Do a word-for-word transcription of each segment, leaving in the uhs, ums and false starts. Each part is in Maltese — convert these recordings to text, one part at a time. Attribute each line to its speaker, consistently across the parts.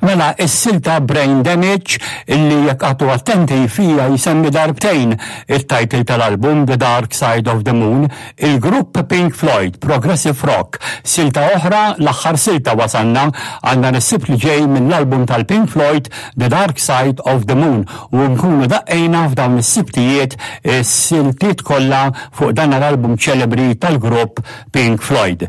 Speaker 1: Mela, is-silta Brain Damage, illi jekk qgħadtu attenti fija jisemmi darbtejn il-title tal-album The Dark Side of the Moon, il-grupp Pink Floyd, Progressive Rock. Silta oħra, l-aħħar silta wasanna għandna is-Sibt li ġej mill-album tal-Pink Floyd The Dark Side of the Moon u nkunu daqqejna f'dawn is-sibtijiet siltiet kollha fuq dan l-album ċelebri tal-grupp Pink Floyd.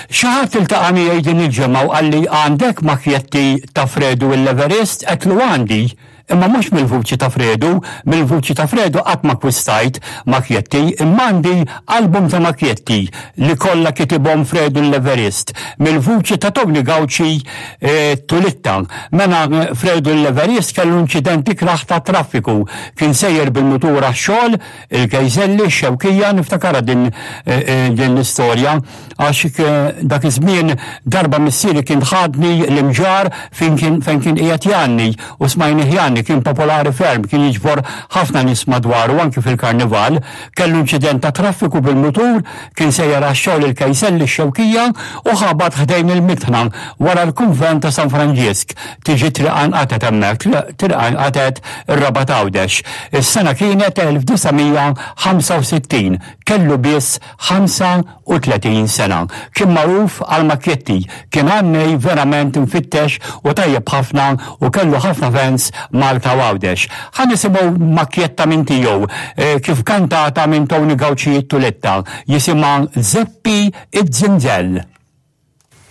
Speaker 1: Xi ħadd iltaqa' miegħi din il-ġimgħa u qalli, "Għandek makjetti ta' Fredu l-Everest?" Għedtlu, "Għandi, imma mhux mill-vuċi ta' Fredu. Mill-vuċi ta' Fredu qatt ma akkwistajt makjetti, imma għandi album ta' makjetti li kollha kitibhom Fredu l-Everest mill-vuċi ta' Tony Gauci e, Tulitta." Mela Fredu l-Everest kellu inċident ikraħ ta' traffiku, kien sejjer bil-mutur għax-xogħol il-Kejżelli Xewkija. Niftakarha din, e, e, din l-istorja għax dak iż-żmien darba missieri kien ħadni l-Imġarr fejn kien fejn kien qiegħed jgħanni u smajni jgħanni. Kien popolari ferm, kien jiġbor ħafna nies madwaru anki fil-karnival. Kellu inċident ta' traffiku bil-mutur, kien sejjer għax-xogħol il-Kejselli Xewkija u ħabat ħdejn il-mitħna wara l-kunvent ta' San Franġisk. Tiġi triq nqatgħet hemmhekk, triq nqatgħet ir-Rabat Għawdex. Is-sena kienet elf disa' mija ħamsa u sittin, kellu biss ħamsa u tletin sena. Kien magħruf għal makjetti, kien għannej verament mfittex u tajjeb ħafna u kellu ħafna fans Malta Għawdex. Ħa nisimgħu makjetta minn tiegħu eh, kif kantata minn Tony Gauci Tuletta, jisimha Zeppi id-Zinzel.